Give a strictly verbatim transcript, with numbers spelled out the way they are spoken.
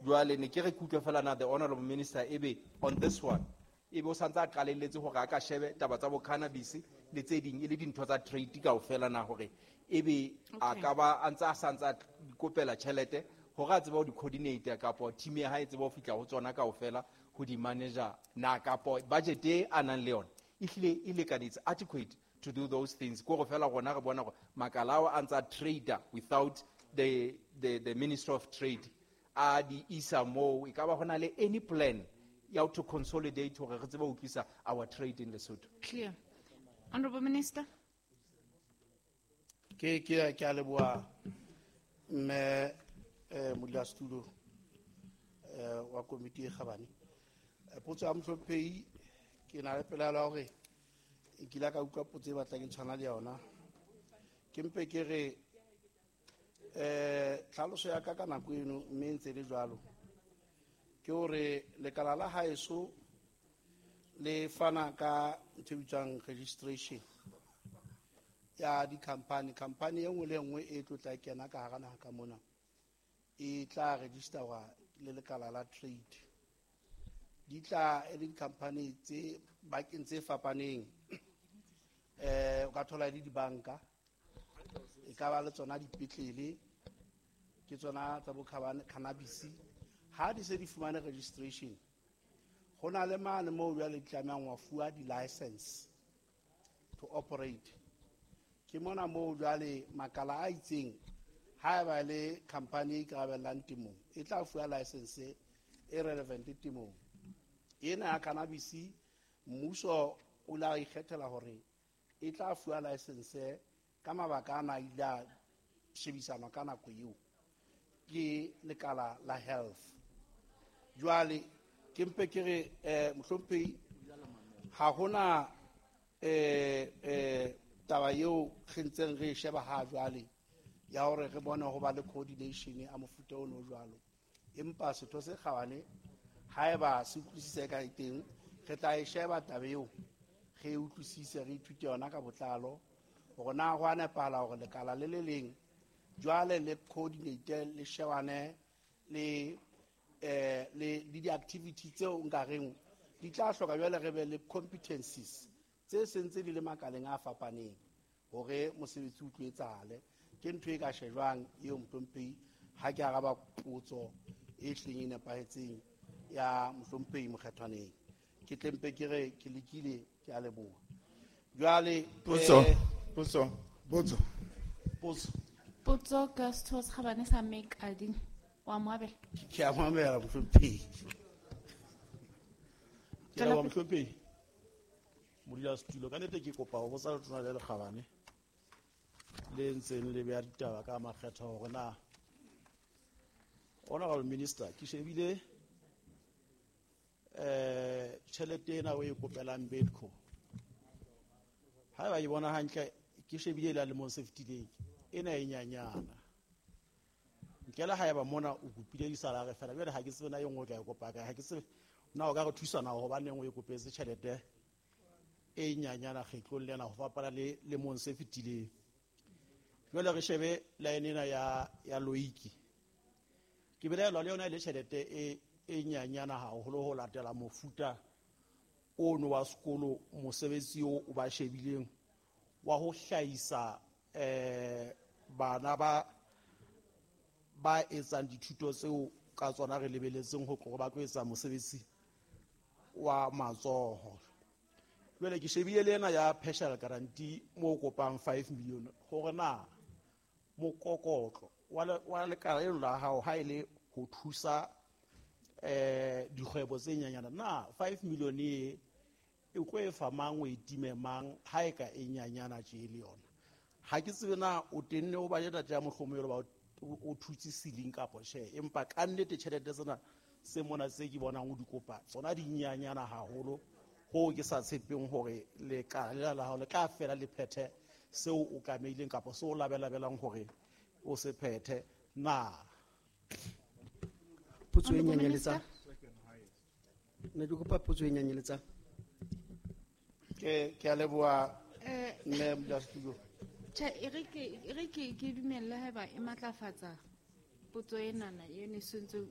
Jwale ne ke re ke utlwe fela na the honorable minister ebe on this one ebe o santse a qalelletse hore a ka shebe taba tsa bo cannabis le tse ding e le dintho tsa trade kaofela na hore ebe a Okay. ka ba a ntse a santse a ikopela tjhelete hore a tsebe ho di coordinate kapo team ya hae e tsebe ho fihla ho tsona kaofela ho di manager na kapo budget e a nang le yona e hlile e lekanetse adequate to do those things. Ko go fela rona re bona gore makala ao a ntse a trader without the, the, the Minister of Trade a di isa moo. E ka ba go na le any plan ya to consolidate hore re tsebe ho utlwisa our trade in Lesotho? Clear. Honorable Minister. Ke ke ke a leboha mme eh modulasetulo eh wa komiti e kgabane. Eh, potso ya mohlomphehi ke na le pelaelo ya hore nkile ka utlwa potso e batlang e tshwana le yona. Ke mpe ke re eh tlhaloso ya ka ka nako eno mme e ntse e le jwalo ke hore lekala la haeso le fana ka ntho e bitswang registration ya di-company. Company e nngwe le e nngwe e tlo tla kena ka hara naha ka mona e tla registerwa le lekala la trade. Di tla e le di-company tse bakeng tse fapaneng, eh o ka thola e le dibanka, e ka ba le tsona dipetlele, ke tsona tsa bo cannabis. Ha di se di fumane registration, ho na le mane moo jwale di tlamehang wa fuwa di-license to operate. Ke mona moo jwale makala a itseng, haeba le company e ikarabellang temong e tla fuwa license e relevant temong ena ya cannabis. Mmuso o la ikgethela hore e tla fuwa license ka mabaka ana a ile a shebisanwa ka nako eo ke lekala la health. Jwale ke mpe ke re eh mohlomphehi ha hona eh eh taba eo re ntseng re e sheba ha jwale ya hore re bone ho ba le coordination a mofuta ono jwalo, empa setho se kgabane haeba se utlwisise ka teng re tla e sheba taba eo, re e utlwisise, re ithute yona ka botlalo hore na ho a nepahala hore lekala le le leng jwale le coordinate le shebane le eh le le di-activity tseo nka reng di tla hloka jwale re be le competencies tse sentse di le makaleng a fapaneng hore mosebetsi o tlo etsahale. Ke ntho e ka shejwang eo mohlomphehi ha ke araba potso e hleng e nepahetseng ya mohlomphehi Mokgethwaneng. Ke tle mpe ke re ke lekile, ke a leboha. Jwale Potso, eh, potso, potso. Potso. Potso ka setho se kgabane sa Mekadi wa moabela. Ke a moamela mohlomphehi. Ke leboha mohlomphehi. Modulasetulo, ka nnete ke kopa ho botsa letona le lekgabane le ntseng le beha ditaba ka makgetha hore na Honorable Minister, ke shebile eh tjhelete ena o e kopelang Bedco. Haeba ke bona hantle, ke shebile la lemong se fetileng, ena e nyanyana. Nkela haeba mona o kopile disalary fela, jwale ha ke tsebe na e nngwe o tla e kopa kae, ha ke tsebe na o ka re thusa na hobaneng o e kopetse tjhelete e nyanyana kgetlong lena ho fapana le lemong se fetileng. Jwale re shebe line ena ya, ya Loiki. Ke belaelwa le yona e le tjhelete e, e nyanyana haholo ho latela mofuta ono wa sekolo, mosebetsi o o ba shebileng wa ho hlahisa eh bana ba ba etsang dithuto tseo ka tsona re lebeletseng ho tlo ba tlo etsa mosebetsi wa matsoho. Jwale ke shebile le ena ya partial guarantee mo kopang five million hore na mokokotlo wa le-, wa lekala leno la hao ha e le ho thusa eh dikgwebo tse nyenyana, na five million e e tlo e fa mang, o e time mang ha e ka e nyenyana tje le yona? Ha ke tsebe na o tenne o budget ya mohlomong e le ba o, o thutse ceiling kapa tjhe, empa ka nnete tjhelete tsena se mona tse ke bonang o di kopa tsona di nyenyana haholo hoo ke sa tshepeng hore lekala lela la hao le tla fela le phethe seo o tlamehileng kapa seo o labelabelang hore o se phethe na. Potso e Honorable nyanyeletsang. Minister. Ne ke kopa potso e nyanyeletsang. Ke, ke a leboha, Eh, mme modulasetulo. Tjhe, e re ke, e re ke, ke dumelle haeba e matlafatsa potso enana e ne sentse o